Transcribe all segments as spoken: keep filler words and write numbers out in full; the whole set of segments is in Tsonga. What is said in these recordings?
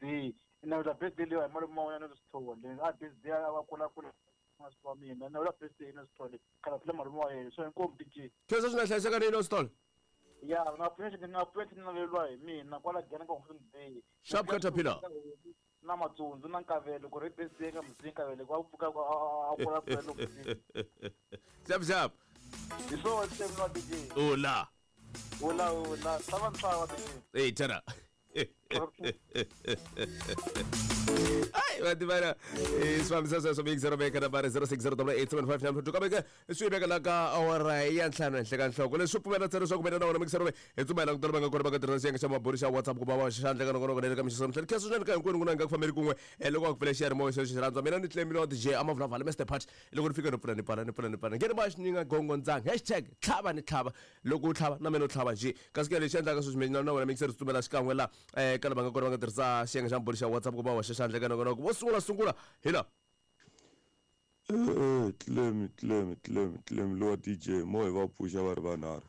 birthday na la birthday leyo hi malume wa wena no Sithole a birthday a va kula kula wa mina na la birthday no Sithole khala phela malume wa yena so inkomu D J khensa swi nga hlayiseka ni no Sithole ya na pfuxa na pfuxa na lelwa hi mina kwala gena ka Sunday sharp caterpillar na matsundzu na nkavelo ku ri birthday ka mutsi nkavelo kwa pfuka a kula kula loko sharp sharp hi so same no D J hola hola hola tlhava ntlhava D J hey tara ai va tivana swi sweswo big zero veka nambara zero six zero eight seven five nine two kambe swi veka la ka awara ya ntlhanu henhla ka nhloko leswi pfumela ntsena leswaku mina na wena mixero hi tsumela ku tala va nga kona va nga tirhisa xiyenge xa maburi xa WhatsApp ku va va xandla ka nongonoko na le ka mixo mhleli khensa swinene ka hinkwenu ku na nga ku fambeli kun'we loko a ku pfule xiyanimoya xexo xi rhandza mina ni Clemilo wa D J a mavulavula Mister Pat loko ni fika ni pfula ni pfala ni pfula ni pfala ngeni va xi ni nga gongondzanga hashtag tlhava ni tlhava loko u tlhava na mina u tlhava njhe kasi ke lexi endlaka sweswi mina na wena mixero swi tsumela xikan'we la eh ka lava nga kona va nga tirhisa xiyenge xa maburi xa WhatsApp ku va wa xandla ka nongonoko vo sungula sungula hi la eh Clem Clem Clem Clem lo D J mo hi va pfuxa va ri vanharhu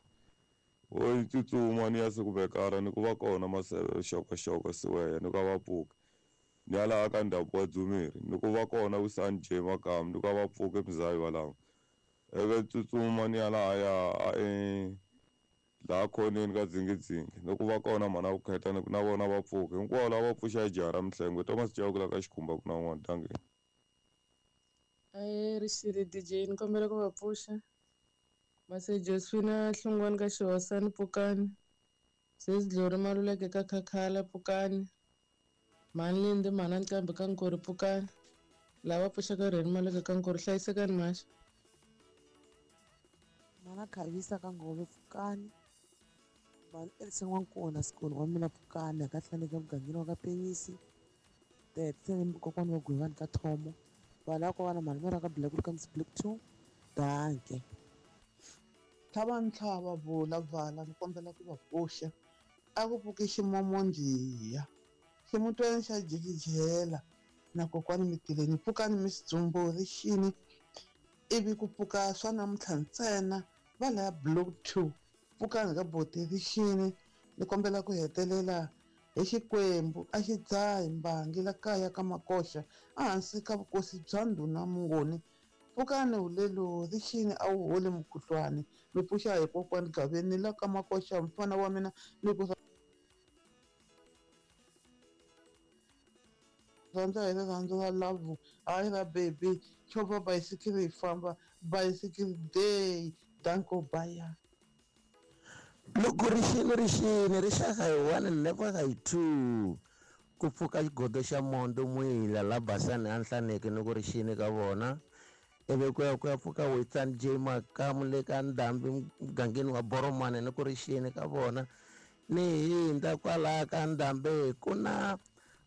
o tsutsuma ni ya se ku vekara ni ku va kona maseve xokoxoko siweya ni ku va pfuka ni ya laha ka ndhavuko wa Dzumeri ni ku va kona Wisani J Makamu ni ku va pfuka Mzayi walawo eve tsutsuma ni ya laha ya eh laha khoneni ka dzingidzingi ni ku va kona mhana ku kheta ni ku na vona va pfuka hinkwavo lava va pfuxa jaha ra Mhlengwe Thomas Chauke la ka Xikhumba ku na un'wana tangeni ae rixile D J ni kombela ku va pfuxa Mase Josephina Hlungwani ka Xihosani pfukani Sesi Dlori Maluleke ka Khakhala pfukani Mhani Lindi mhana Nqambi ka Nkori pfukani lava pfuxaka Rheni Maluleke ka Nkori hlayisekani maxa Mhana Khavisa ka Ngove pfukani Mhani Elsa N'wankona Sikoni wa mina pfukani ka Hlaneka mugangeni wa ka Penyisi Tete kokwana wa Gwivani ka Thomo vana ko vana mhani mara ka Black ka Miss Black two danke tlhava ntlhava vula vala ni kombela ku va pfuxa a ku pfuki ximomondiya ximutweni xa jikijela na kokwani mitileni pfukani mi swidzumbu rixini ivi ku pfuka swa namuntlha ntsena va laya block two pfukani ka boti rixini ni kombela ku hetelela hi xikwembu a xi dzahi mbangi la kaya ka makoxa ehansi ka vukosi bya ndhuna Mungoni pfukani hulelo rixini a wu holi mukhuhlwani mi pfuxa hi kokwani Gaveni la ka makoxa mfana wa mina ni ku rhandza hi rirhandzu ra love hayi ra baby chovha bayisikiri yi famba bayisikiri day danko baya loko rixini rixini rixaka hi one never hi two ku pfuka xigodo xa mondo mwila la basani a Nhlaneke ni ku rixini ka vona ivi ku ya ku ya pfuka Witsani J Makamu le ka Ndhambi mugangeni wa Boromane ni ku rixini ka vona ni hindza kwalaya ka Ndhambi ku na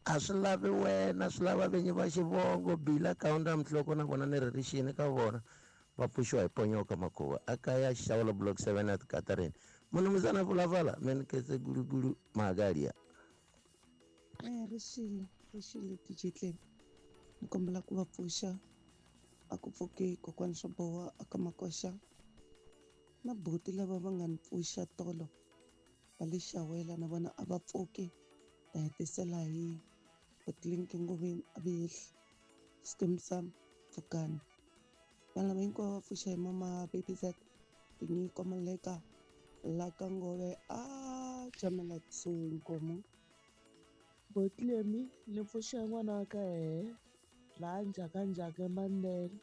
a swi lavi wena swi lava vinyi va xivongo Bila Kaunda Mhloko na vona ni ri rixini ka vona va pfuxiwa hi Ponyoka Makhuva a kaya Xawula block seven at Katarini munumuzana vulavala mina ketse gulugulu magalia eh rixile rixile D J Clem ni kombela ku va pfuxa a ku pfuki kokwani swo boha aka makoxa na buti lava va nga ni pfuxa tolo va le Xawela na vona a va pfuki ta hetisela hi Botlinki Ngoveni a vehli Skim Sam pfukani vanhu lava hinkwavo va pfuxa hi mama Baby Z Tinyiko Maleka la ka Ngove a jamela kusuhi nkomo Botlemi ni pfuxa n'wana wa ka hehe laha njhakanjhaka Mandela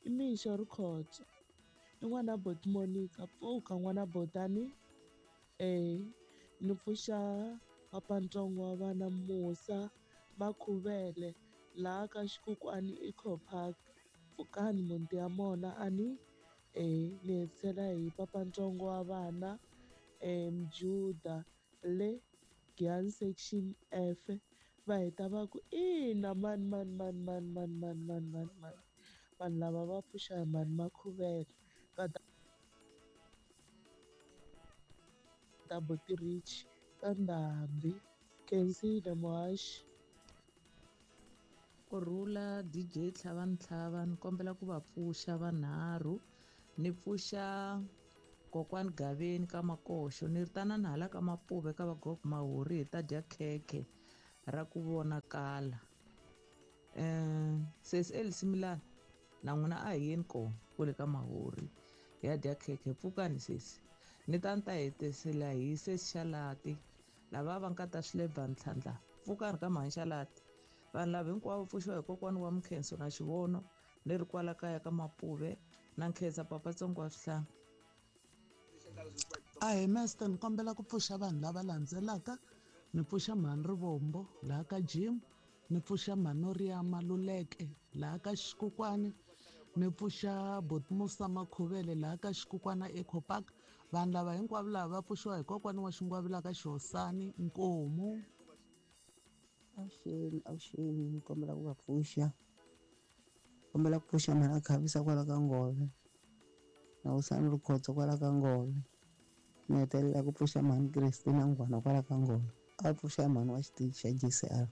i mixo Rikhotso i n'wana boti Monica pfuka n'wana botani eh ni pfuxa papantsongo wa vana Musa Makhuvele laha ka Xikukwani Eco Park pfukani muti ya mona ani eh ni hetisela hi papantsongo wa vana eh Mjuda le Giyani section F va heta va ku ina mani mani mani mani mani mani mani mani mani vanhu lava va pfuxa hi mani Makhuvele ka ta Boti Rich ka Ndhambi Kensile Muhaxi Kurhula D J Tlhava Ntlhava ni kombela ku va pfuxa vanharhu ni pfuxa kokwani Gaveni ka Makoxo ni ri tanani hala ka Mapuve ka vagogo Mahuri hi ta dya khekhe ra ku vonakala. Um sesi Elsie Milana na n'wina a hi yeni kona kwale ka Mahori hi ya dya khekhe, pfukani sesi. Ni ta ni ta hetisela hi sesi Xalati lava va nga ta swilebva ntlhantlha, pfukani ka mhani Xalati. Vanhu lava hinkwavo pfuxiwa hi kokwana wa Mkhenso na Xivono ni ri kwala kaya ka Mapuve na Nkhensa papa tsongo wa swihlanga. Ahee master, ni kombela ku pfuxa vanhu lava landzelaka. Ni pfuxa mhani Rivombo laha ka Jim, ni pfuxa mhani Maluleke laha ka Xikukwani, ni pfuxa Botmusa Makhuvele laha ka Xikukwana Eco Park. Vanhu lava hinkwavo lava va pfuxiwa hi kokwana wa Xingwavila ka Xihosani Nkomu. Avuxeni, avuxeni, ni kombela ku va pfuxa. Kombela ku pfuxa mhani a khavisa kwala ka Ngove na Usani Rikhotso kwala ka Ngove. Ni hetelela ku pfuxa mhani Christina Ngwana kwala ka Ngove. A pfuxa mhani wa xitichi xa G C R.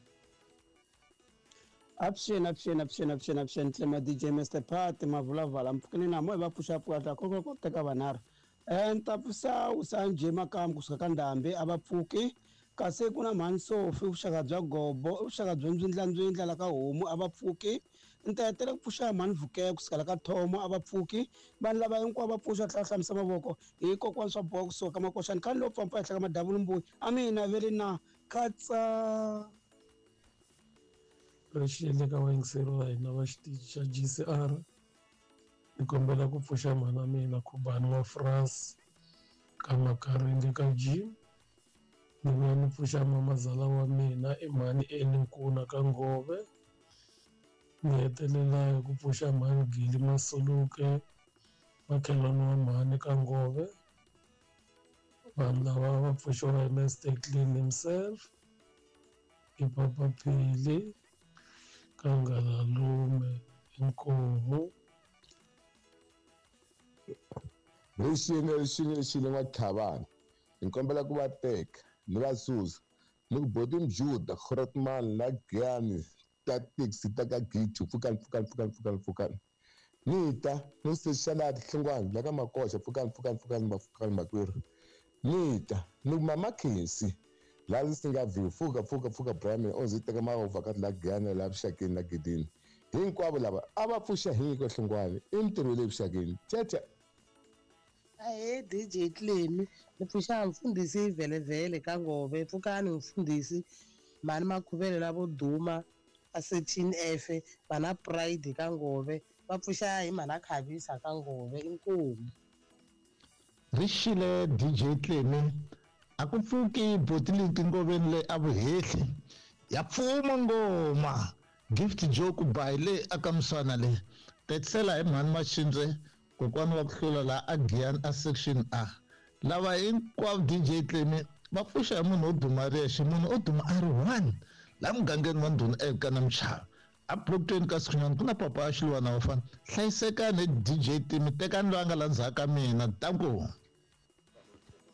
Avuxeni, avuxeni, avuxeni, avuxeni, avuxeni, Tlema D J Mister Pat Mavulavala mpfukeni na mo hi va pfuxa pfuka ta koko ko teka vanharhu. Eh ni ta pfuxa Usanje Makamu kusuka ka Ndhambi a va pfuki. Kasi ku na mhani Sofi vuxaka bya Gobo, vuxaka bya Ndzindlandzindla la ka Homu a va pfuki. Ni ta hetelela ku pfuxa mhani Vukeka kusuka la ka Thomo a va pfuki. Vanhu lava hinkwavo va pfuxa tlhela hlamisa mavoko hi kokwana swa boha kusuka ka Makoxani khale lowu pfampa ehenhla ka Madavulumbuyi a mina vele na khatsa. Ri xile ka vayingiseri va hina va xitichi xa G C R, ni kombela ku pfuxa mhana mina Khubani wa France ka Makaringe ka Jim. Ni vuya ni pfuxa mamazala wa mina i mhani Eni Nkuna ka Ngove. Ni hetelela hi ku pfuxa mhani Gili Masuluke makhelwani wa mhani ka Ngove. Vanhu lava va pfuxiwa hi Mister Clean himself, hi Papa Phili ka Ngalalume Inkomu. Rixile, rixile, rixile n'wa-Tlhavani. Ni kombela ku va teka ni va susa ni ku boti Mjuda Grootman la Giyani Tactics ta ka Gitu pfukani pfukani pfukani pfukani pfukani. Ni ta ni sexalati Hlongwane la ka Makoxa pfukani pfukani pfukani pfukani makwerhu. Ni ta ni ku mama Khensi la ndzi nga view pfuka pfuka pfuka Brahman o ndzi teka mahovha ka la Giyani la vuxakeni la Gidini. Hinkwavo lava a va pfuxa hi nyiko Hlongwane i mintirho le vuxakeni. Thethe. Ahee D J Clemi, ni pfuxa mfundhisi Vhelevhele ka Ngove, pfukani mfundhisi mhani Makhuvele lavo duma a thirteen F vana Pride ka Ngove, va pfuxa hi mhana Khavisa ka Ngove inkomu. Rixile D J Clemi, a ku pfuki botiliki ngoveni le a vuhehli ya pfuma ngoma Gift Joke by le aka Mswana le tetisela hi mhani Maxindze kokwana wa ku hlula la a Giyani a section A. Lava hinkwavo D J Clemi va pfuxa hi munhu wo duma riyexe, munhu o duma a ri one la mugangeni wa ndhuna eka na Mchava a block ka Sikhunyana ku na papa a Xiluwana wa fana. Hlayisekani D J Timi, tekani loyi a nga la ndzhaku ka mina danko.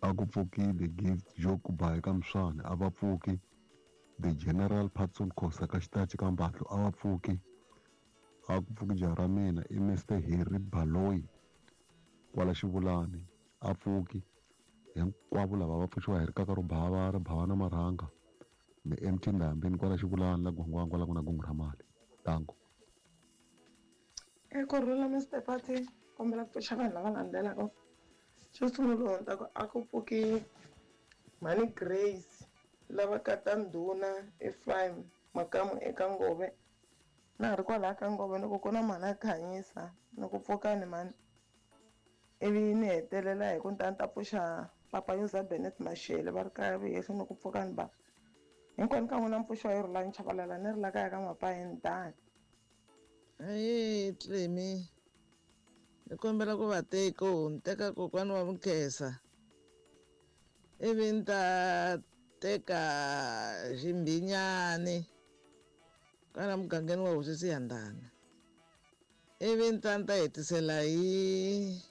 A ku pfukile Gift Joke by ka Mswana a va pfuki. The General Patson Khosa ka xitachi ka Mbatlo a va pfuki. A ku pfuki jaha ra mina i Mister Harry Baloyi kwala Xivulani a pfuki. Hinkwavo lava va pfuxiwa hi rikaka ro bava ri bava na marhanga ni M T Ndhambi kwala Xivulani la Gwangwangwa kwala ku na gungu ra mali. Danko. E kurhula Mister Party, kombela ku pfuxa vanhu lava landzelaka. Xo sungula ni ta ku a ku pfuki mhani Grace lava kata ndhuna Ephraim Makamu eka Ngove. Na ha ri kwalaya ka Ngove ni ku ku na mhani a Khanyisa ni ku pfukani mhani. Ivi ni hetelela hi ku ni ta ni ta pfuxa papa Yoza Bennett Mashele va ri kaya vuhehli ni ku pfukani ba. Hinkwenu ka n'wina mpfuxo hi Rhulani Chabalala ni ri la kaya ka Mapayeni dani. Ahee Clemi, ni kombela ku va teka ni teka kokwana wa Mukhesa ivi ni ta teka Ximbinyani kwala mugangeni wa Hosi Siyandhana ivi ni ta ni ta hetisela hi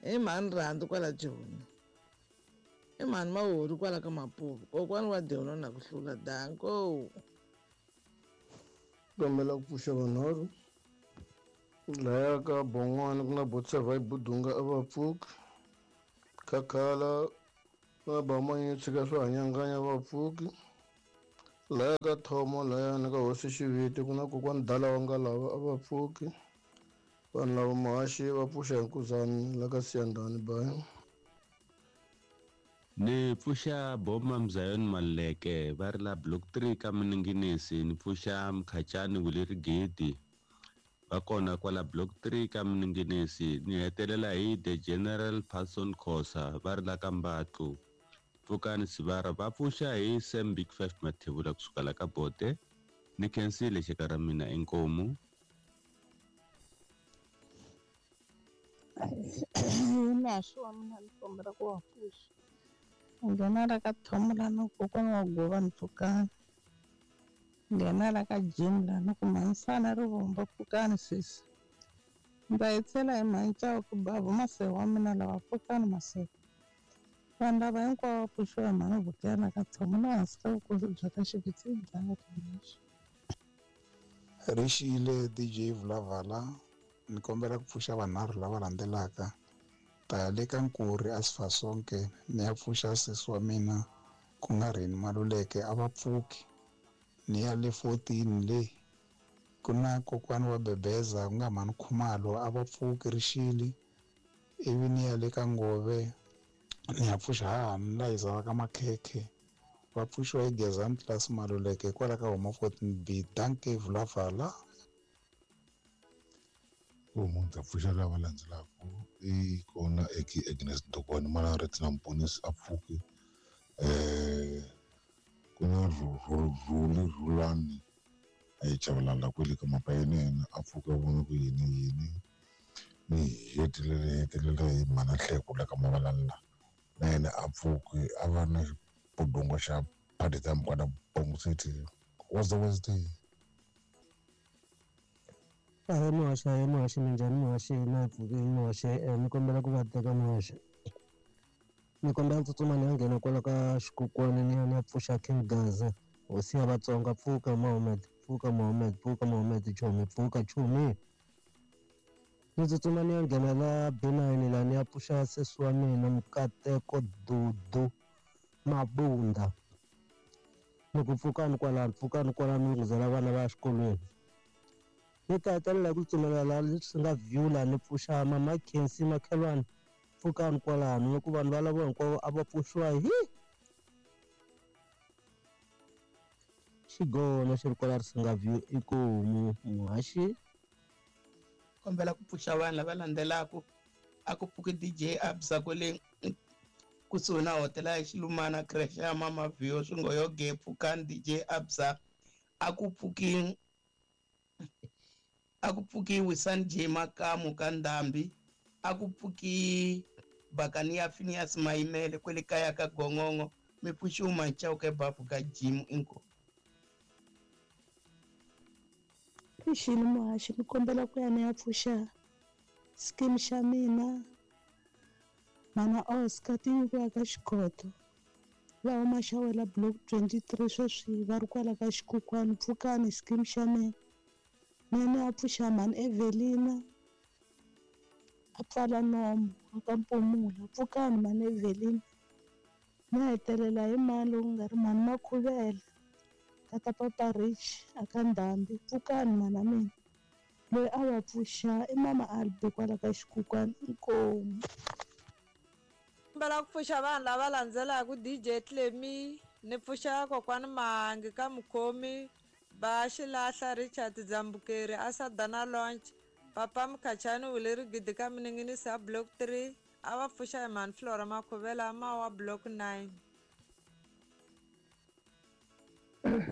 hi mhani Rhandzu kwala Joni i mhani Mahori kwala ka Mapuve kokwana wa Dyono na ku hlula danko. Kombela ku pfuxa vanharhu laya ka Bon'wana ku na Botsavai Budunga a va pfuki. Khakhala ku na Bamanya tshika swo hanyanganya va pfuki. Laya ka Thomo layani ka hosi Xiviti ku na kokwani Dala wa Ngalava a va pfuki. Vanhu lava muhaxi va pfuxa hi nkuzani la ka Siyandhani bayi. Ni pfuxa Boma Mzayoni Maluleke va ri la block three ka Mininginisi. Ni pfuxa Mkhachani Wuleri Gidi va kona kwala block three ka Mininginisi. Ni hetelela hi The General Patson Khosa va ri la ka Mbatlu. Pfukani Sivara va pfuxa hi Sam Big Five Mathebula kusuka la ka Bote. Ni khensile xeka ra mina inkomu. Naxo wa mina ni kombela ku wa pfuxa. Nghena la ka Thomo la ni kokwana wa Gova ni pfukani. Nghena la ka Jim la ni ku mhanisana Rivombo pfukani sesi. Ndza hetisela hi mhani ku bava masewu wa mina lava pfukani masewu. Vanhu lava hinkwavo va pfuxiwa hi mhani Vukela ka Thomo na hansi ka vukosi bya ka Xiviti bya ka. Rixile D J Vulavala, ni kombela ku pfuxa vanharhu lava landzelaka. Ta ya le ka Nkuri a Sifasonke ni ya pfuxa sesi wa mina ku nga Reni Maluleke a va pfuki. Ni ya le fourteen le ku na kokwani wa Bebeza ku nga mhani Khumalo a va pfuki rixile. Ivi ni ya le ka Ngove ni ya pfuxa hahani la hizaka ka Makhekhe va pfuxiwa hi Gezani Class Maluleke kwala ka huma fourteen B. Dankie Vulavala. Munhu ta pfuxa lava landzelaka i kona eki Agnes Ntokwane mana Retina Mponisi a pfuki. Eh ku na Rhuli Rhulani a yi chavalala kwele ka mapa yena a pfuka vona ku yini yini ni hetelele hetelela hi mhana Nhleko la ka Mavalala na yena a pfuki a va na xipudungo xa party time kwala Bongo City. What's the Wednesday? Ahe muhaxi, ahe muhaxi, minjhani muhaxi, na pfukile muhaxi. Ni kombela ku va teka muhaxi. Ni kombela tsutsuma ni ya nghena kwala ka xikokwani ni ya ni ya pfuxa King Gaza. Hosi ya Vatsonga, pfuka Mohammed, pfuka Mohammed, pfuka Mohammed, chomi, pfuka chomi. Ni tsutsuma ni ya nghena la B nine la ni ya pfuxa sesi wa mina Mukateko Dudu Mabunda. Ni ku pfukani kwalano, pfukani kwalano ni nguzela vana va ya xikolweni. Ni ta hetelela hi ku tsutsumela laha swi nga view laha ni pfuxa Mama Khensi Makhelwani pfukani kwalano loko vanhu valavo hinkwavo a va pfuxiwa hi xigono xi ri kwala ri nga view i ku muhaxi. Kombela ku pfuxa vanhu lava landzelaka a ku pfuki D J Absa kwele kusuhi na hotela ya Xilumana creche ya Mama View swingoyoge pfukani D J Absa. A ku pfuki a ku pfuki Wisani J Makamu ka Ndhambi. A ku pfuki Bakani ya Phineas Mayimele kwele kaya ka Gongongo mi pfuxiwa Manchauke bafu ka Jim inko. Rixile muhaxi, ni kombela ku ya ni ya pfuxa scheme xa mina mana Oscar ti nyikiwa ka Xikhoto va huma xawela block twenty-three sweswi va ri kwala ka Xikhukhwani. Pfukani scheme xa mina. Ni ya ni ya pfuxa mhani Evelina a pfala nomu a ka Mpumula. Pfukani mhani Evelina. Ni hetelela hi mani loku nga ri mhani Makhuvela tata Papa Rich a ka Ndhambi. Pfukani mhana mina. Loyi a va pfuxa i mama Albi kwala ka Xikhukhwani. Inkomu. Kombela ku pfuxa vanhu lava landzelaka D J Clemi. Ni pfuxa kokwani Mahangi ka Mukhomi ba Xilahla Richard Dzambukeri a Sadana Launch Papa Mkhachani Wuleri Gidi ka Mininginisi a block three a va pfuxa hi mhani Flora Makhuvela mawa block nine.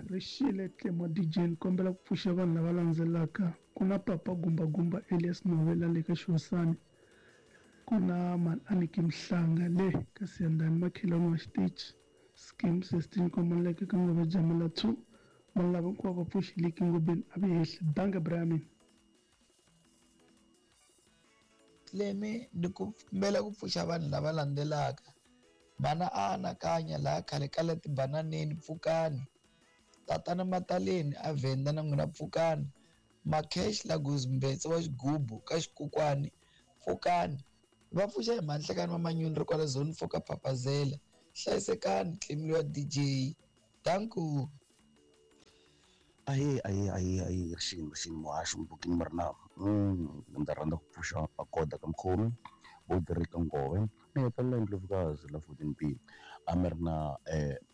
Rixile Tlemo D J, ni kombela ku pfuxa vanhu lava landzelaka. Ku na Papa Gumba Gumba Elias Novela le ka Xihosani. Ku na mhani Aniki Mhlanga le ka Siyandhani Makhelwani wa Xitichi Scheme sixteen Komaleke ka Ngove Jamela two. Vanhu lava hinkwavo va pfuxile Ngobeni a vi hehli. Dankie Brian. Tlemi ni kombela ku pfuxa vanhu lava landzelaka. Mana a anakanya laha khale ka le tibananeni pfukani. Tatana Mataleni a Venda na n'wina pfukani. Makhesh Lagos Mbetse wa Xigubu ka Xikukwani pfukani. Va pfuxa hi Mhanhlekani wa Manyuni ri kwala zone four ka Papazela. Hlayisekani Tlemi wa D J. Danko. Ahee ahee ahee ahee rixini rixini muhaxi mpfukini mi ri na ndzi rhandza ku pfuxa magoda ka mukhomi Bodri ka Ngove ni hetelela Ndlovukazi la fourteen B a mi ri na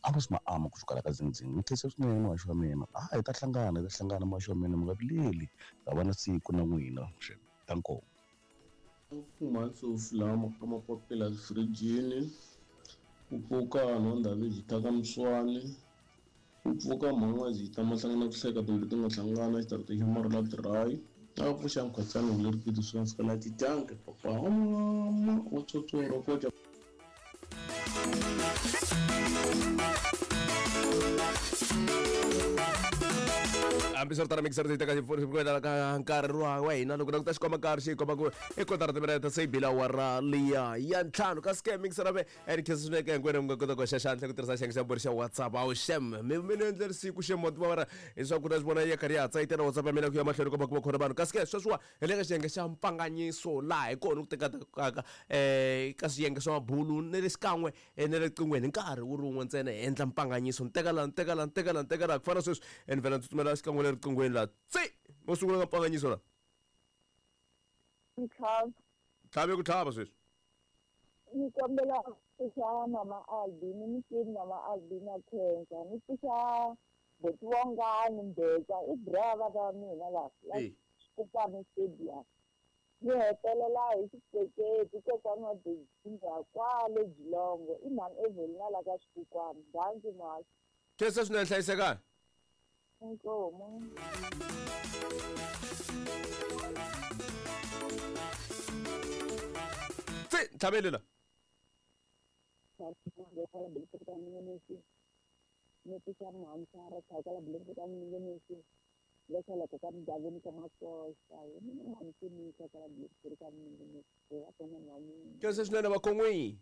Amos Maama kusuka la ka Zinzing ni khensa swinene muhaxi wa mina a hi ta hlangana hi ta hlangana muhaxi wa mina mi nga vileli ta va na siku na n'wina ta nkoka. Kumatsofu lama ka mapapila firijini ku pfuka nhondaviji ta ka Mswani ku pfuka mhan'wazi ta mahlangana ku hleka timbilu ti nga hlangana xitarata xa marula dry a pfuxa mkhatsani lerikiti swi nga fika la titanke papa mama wa tsotsoro koja. Hambiswiritano mixer yi teka ka nkarhi wa hina loko languta xikomba nkarhi xi komba ku i kotara timinete se yi bile awara liya ya ntlhanu kasi ke mixer ave and khensa swinene ka hinkwenu mi nga kota ku hoxa xandla ku tirhisa xiyenge xa mbirhi xa WhatsApp awu xem mi mi ni endleri siku xem wa tiva leswaku ta swi vona ya karhi ya hatsa yi tela WhatsApp ya mina ku ya mahlweni komba ku va khona vanhu kasi ke sweswiwa hi le ka xiyenge xa mpfanganyiso laha hi kona ku tekaka um ka swiyenge swa mabulu ni le xikan'we ni le riqinghweni hi nkarhi wu ri wun'we ntsena hi endla mpfanganyiso ni teka la ni teka la ni teka la ni teka la ku fana sweswi ni vhela ni tsutsumela xikan'we le riqinghweni la tsi mo sungula ka mpfanganyiso la Ntlhava. Tlhave ku tlhava sweswi. Ni kombela ku pfuxa mama Albini ni kini mama Albini a khensa ni pfuxa boti Wongani Mbeka i brava va mina la la Xikupani Stadium ni hetelela hi xitseketi kokwana wa Bezinga kwale Jilongo i mhani Evelina la ka Xikukwani danki muhaxi. Khensa swinene hlayisekani. Inkomu. Tsi tlhaveli la. Khensa swinene vakhon'wi.